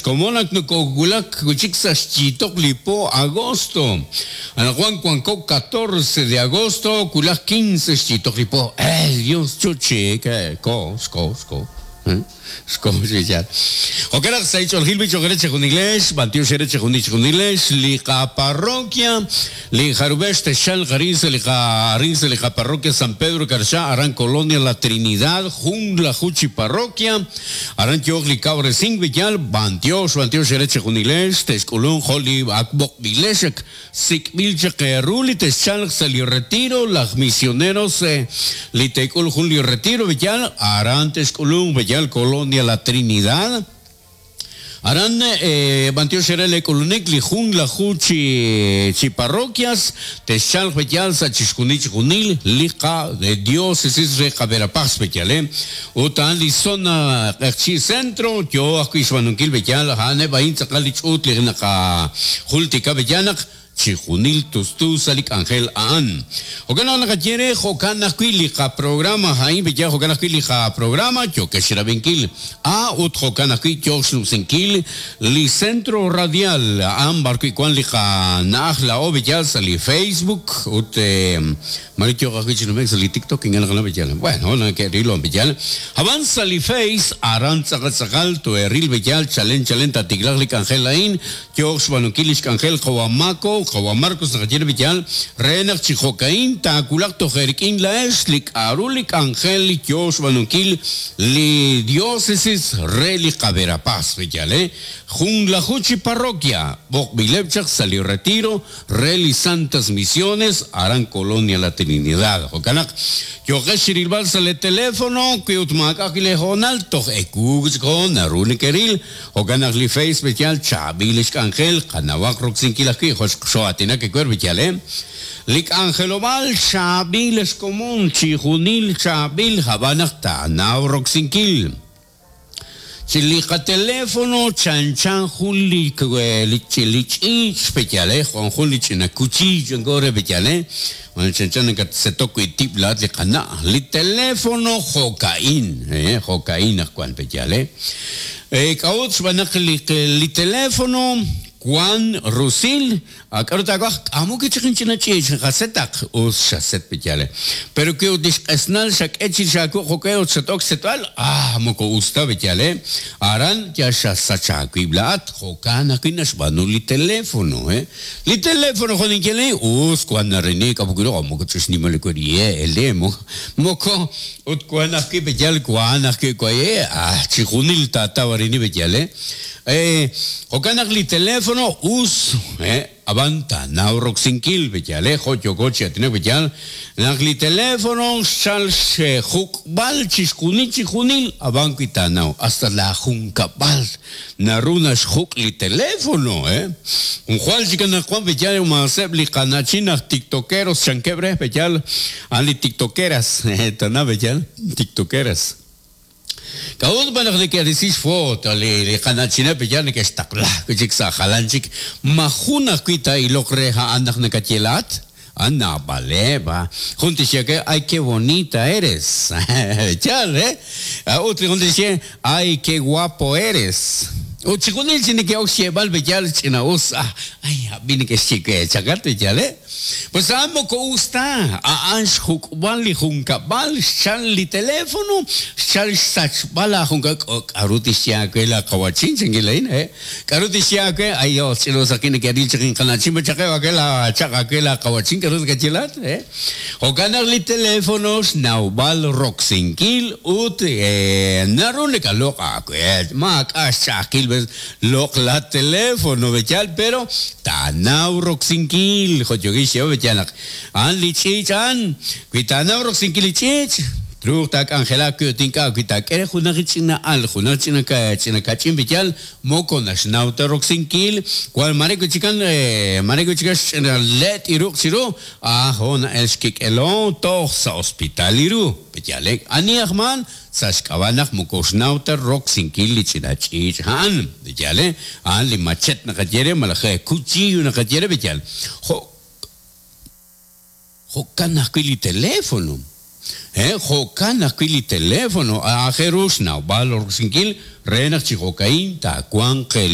Xkomon ak nokowulak wi' chik sa' xyiitoq li po agosto. Anaqwan wanko 14 de agosto, wulaj 15 xyiitoq li po. Eh, Dios chuchik, eh, ko, xko, xko. Xko chi yaal. Jo'kan naq sa' ich'oolejil b'i cho'q re chejunilex, b'antiox eere chejunil chejunilex, li qaparroquia, li jarub'ex texchalq arin sa' li qa arin sa' li qaparroquia San Pedro Carchá aran Colonia La Trinidad, junlaju chi parroquia, aran yooq li kawresink b'iyal, b'antiox, b'antiox eere chejunilex, texk'ulunq jo' li ak b'oqb'ilex ak Sik'b'il chaq eeru li texchalq sa' li retiro, laj misioneros li teek'ul jun li retiro b'eyal, aran texk'ulunq b'eyal Colonia La Trinidad. Aran b'antiox eere lee k'ulunik li junlaju chi chi parroquias texchalq b'eyal sa' chixjunil chixjunil li qa diócesis re qa Verapaz b'eyal e. Ut a'an li zona Q'eqchi' Centro yoo ajwi' xb'aanunkil b'eyal, a'aneb' a'in tz'aqal li ch'uut li naqajultika b'eyal naq chijunil tustu sa' li k'anjel a'an. Jo'kan naq naqaye re jo'kan ajwi' li qaprograma a'in b'eyal jo'kan ajwi' li qaprograma yookex xrab'inkil. A ut jo'kan ajwi' yook xnumsinkil li Centro Radial a'an b'arwi' wan li qana'aj laa'o b'eyal sa' li Facebook ut Mare yooq ajwi' chi nume'k sa' li TikTok ink'a' naqanaw b'eyal. Bueno, nake'ril wan b'eyal. Ab'an sa' li Face, aran tz'aqal tz'aqal tohe'ril b'eyal chalen chalen taatiklaq li k'anjel a'in, yooq xb'aanunkil li xk'anjel qawa' Mako, qawa' Marcos naqaye re b'eyal, re naq chi jo'ka'in taawulaq toj eerik'in laa'ex li k'a'ru li k'anjel li yoo xb'aanunkil li Diócesis re li qaVerapaz b'eyal, eh. Junlaju chi parroquia b'oqb'ileb' chaq sa' li retiro re li Santas Misiones aran Colonia La Trinidad. Jo'kan naq, yooqex chi rilb'al sa' lee teléfono, wi ut maak'a' ajwi' lee hoonal, toj ewu chik hoon naru nekeril. Jo'kan naq li Face b'eyal chaab'il lix k'anjel, qanawaq roksinkil ajwi' jo' xoo'aatinak ewer b'eyal e. Li k'anjelob'aal chaab'il xkomon, chijunil chaab'il, hab'an naq taanaw roksinkil. Chi li qateléfono chanchan jun li li ch'iich' b'eyal eh, jo' jun li ch'ina kuchiiy chanko re b'eyal eh, bueno chanchan nakatsetok wi' tib' laa'at li qana'. Li teléfono jo'ka'in eh, jo'ka'in naq wan b'eyal eh. K'a'ut? Xb'aan naq li li teléfono wan rusil. A K'aru taawaj? K'amu wi' chik inch'ina ch'iich' qasetaq? Us xaset b'iyale. Pero wi ut li xq'esnal xak'e chi xaawuq jo'k'e ut xat-ok xsetb'al, ah, moko us ta b'iyale. Aran yal xasach aawib' laa'at. Jo'kan ajwi' naxb'aanu li teléfono, eh. Li teléfono jo' ninye le, us wank nareni k'amu wi' ru, moko ch'ixnimal li we ele, moko ut wank ajwi' b'iyal wank ajwi' waye, ah, chijunil taataw arini b'iyale. Jo'kan naq li teléfono us, ab'an taanaw roksinkil, b'eyal, jo' yooko chi aatinak b'eyal, naq li teléfono xchal xjuk'b'al chixjunil chijunil, ab'an wi taanaw, hasta laajunkab'al naru naxjuk' li teléfono, jwal chik anaqwan b'eyal maaseb' li qana'chin aj tiktokeros chankeb' re b'eyal, a'an li tiktokeras, tana b'eyal, tiktokeras. K'a'ut b'an naq neke'risi xfoto li qana'chineb' yal neke'xtaqla wi' chik sa' jalan chik? Ma jun ajwi' taa'iloq re a'an naq nakaye laa'at? A Naab'aleb'. Jun tixye we, Ay, qué bonita eres. Yaal, eh? Ut li jun tixye, Ay, qué guapo eres. Ut chixjunil chi neke'ok xyeeb'al b'eyal ch'ina'us, ay, ab'i neke'xye we, chakat b'eyal, eh? Pues a'an moko us ta, a'an xjuk'b'al li junkab'al, xchal li teléfono, xchal xsachb'al laajunkab'al. K'aru tixye aawe laaqawa'chin? Chankin laa'in, he. K'aru tixye aawe? Ay, Dios, ch'ina'usaqin neke'ril chaq inqana'chin, ma chaqeb' aawe laachaq' aawe laaqawa'chin, k'aru nakaye laa'at? He. Jo'kan naq li teléfono xnawb'al roksinkil ut naru nakaloq' aawe, maak'a' xch'a'ajkil Loq' la teléfono b'eyal pero taanaw roksinkil, jo' yookin xyeeb'al b'eyal naq a'an li ch'iich' a'an, wi taanaw roksinkil li ch'iich', truuq taak'anjelaq wi ut ink'a' wi taak'e re junaq li ch'ina al, junaq ch'ina ch'ina kach'in b'eyal moko naxnaw ta roksinkil, wan mare wi' chikan mare wi' chikan xch'ina let li ruq' chiru, ajo na'el xkik'elo toj sa' hospital li ru, b'eyal, ani aj maan? Sa' xk'ab'a' naq moko xnaw ta roksinkil li ch'ina ch'iich' a'an. B'eyal, a'an li machet naqaye re malaj cuchillo naqaye re b'eyal. Jo' jo'kan ajwi' li teléfono. Jo'kan ajwi' li teléfono aajel ru xnawb'al roksinkil re naq chi jo'ka'in taawanq.